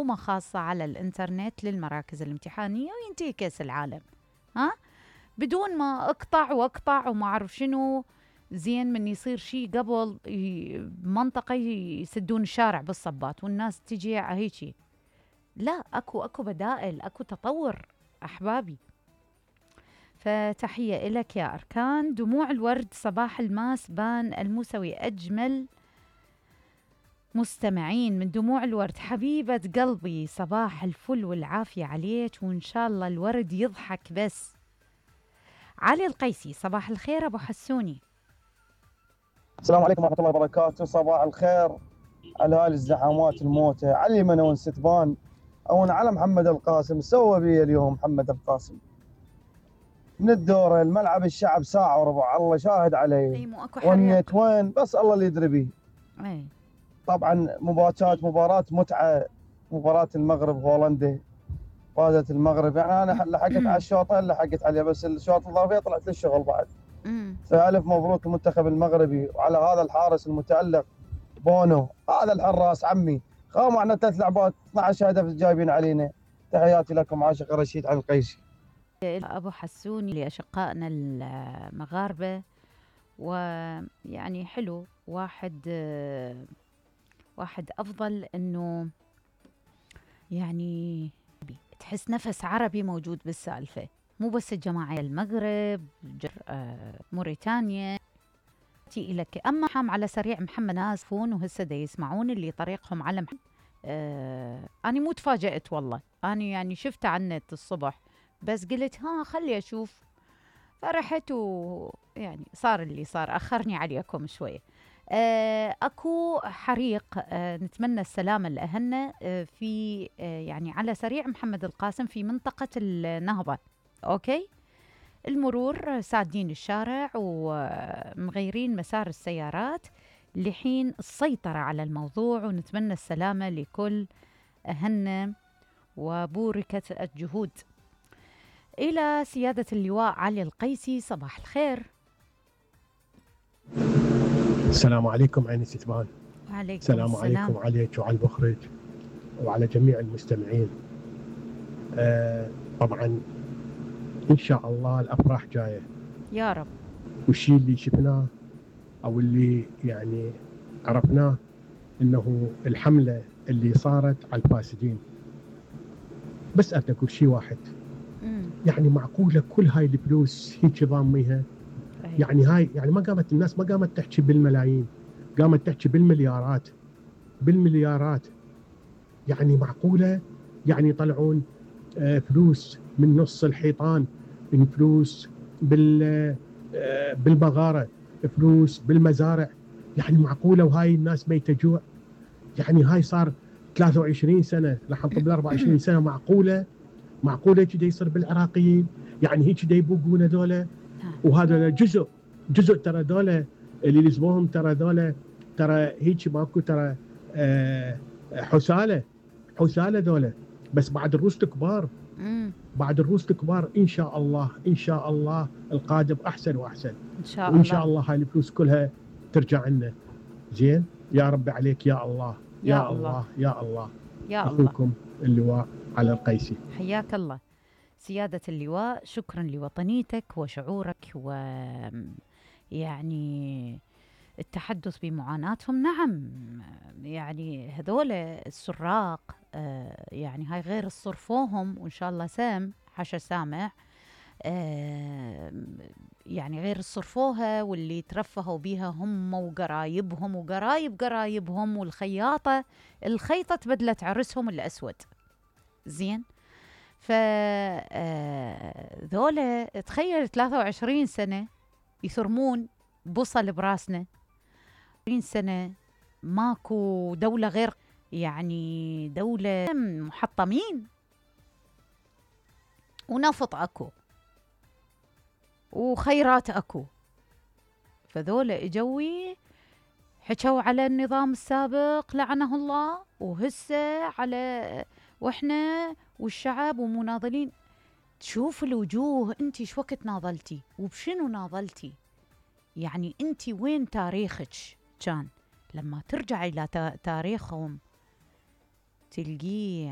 معلومة خاصة على الإنترنت للمراكز الامتحانية وينتهي كأس العالم. ها بدون ما اقطع وما أعرف شنو. زين من يصير شيء قبل منطقة يسدون الشارع بالصبات والناس تجي هيجي. لا، اكو بدائل، اكو تطور احبابي. فتحية إلك يا أركان. دموع الورد صباح الماس بان الموسوي أجمل مستمعين من دموع الورد. حبيبة قلبي صباح الفل والعافية عليك وإن شاء الله الورد يضحك بس. علي القيسي صباح الخير أبو حسوني. السلام عليكم ورحمة الله وبركاته. صباح الخير على هاي الزحامات الموتة. علي من وين ستبان أو على محمد القاسم. سوى بي اليوم محمد القاسم من الدورة الملعب الشعب ساعة وربع، الله شاهد علي. أي مو أكو حريق. والنت وين بس الله اللي يدري بيه. أي. طبعا مباراة متعة. مباراة المغرب هولندا فازت المغرب، يعني أنا لحقت على الشوطة لحقت عليه، بس الشوط الإضافية طلعت للشغل بعد. فألف مبروك المنتخب المغربي وعلى هذا الحارس المتألق بونو. هذا الحراس عمي خا معنا 3 لعبات 12 هدف جايبين علينا. تحياتي لكم عاشق رشيد علي القيسي. أبو حسوني لأشقائنا المغاربة. ويعني حلو واحد أفضل إنه يعني تحس نفس عربي موجود بالسالفة، مو بس الجماعة المغرب موريتانيا تي لك. أما حام على سريع محمد ناسفون وهسه دا يسمعون اللي طريقهم على أنا مو تفاجأت والله. أنا يعني شفته على النت الصبح بس قلت خلي أشوف، فرحت ويعني صار اللي صار. أخرني عليكم شوية. أكو حريق، نتمنى السلامة لأهلنا في يعني على سريع محمد القاسم في منطقة النهضة. أوكي، المرور سادين الشارع ومغيرين مسار السيارات لحين السيطرة على الموضوع، ونتمنى السلامة لكل أهلنا وبوركة الجهود. إلى سيادة اللواء علي القيسي صباح الخير. السلام عليكم عيني ستبان. وعليكم السلام عليكم عليك وعلى المخرج وعلى جميع المستمعين. طبعا إن شاء الله الأفراح جاية يا رب. والشيء اللي شفناه أو اللي يعني عرفناه إنه الحملة اللي صارت على الفاسدين. بس أقول شيء واحد، يعني معقولة كل هاي الفلوس هيك ضاميها؟ يعني هاي يعني ما قامت الناس ما قامت تحكي بالملايين، قامت تحكي بالمليارات. يعني معقولة يعني يطلعون فلوس من نص الحيطان، من فلوس بالبغارة، فلوس بالمزارع. يعني معقولة وهاي الناس ميتة جوع؟ يعني هاي صار 23 سنة لح نطب 24 سنة. معقولة كده يصير بالعراقيين؟ يعني هيك كده يبوقون هذولا، وهذا جزء ترى ذولا اللي لزموهم، ترى هيك ماكو، ترى حسالة ذولا، بس بعد الروس كبار. إن شاء الله القادم أحسن وأحسن إن شاء وإن الله. شاء الله هاي الفلوس كلها ترجع لنا. زين يا رب عليك يا الله يا الله يا الله. أخوكم اللواء على القيسي. حياك الله سيادة اللواء، شكرا لوطنيتك وشعورك يعني التحدث بمعاناتهم. نعم يعني هذول السراق يعني هاي غير صرفوهم وإن شاء الله سام حشا سامع، يعني غير صرفوها واللي ترفهوا بيها هم وقرايبهم قرايبهم والخياطة الخيطة تبدلت عرسهم الأسود. زين ذولا تخيل 23 سنة يثرمون بوصل براسنا، 20 سنة ماكو دولة غير يعني دولة محطمين، ونفط أكو وخيرات أكو. فذولا إجوي حكوا على النظام السابق لعنه الله، وهسه على وإحنا والشعب ومناضلين. تشوف الوجوه أنتي شو وقت ناضلتي وبشنو ناضلتي؟ يعني أنتي وين تاريخك كان؟ لما ترجع إلى تاريخهم تلقيه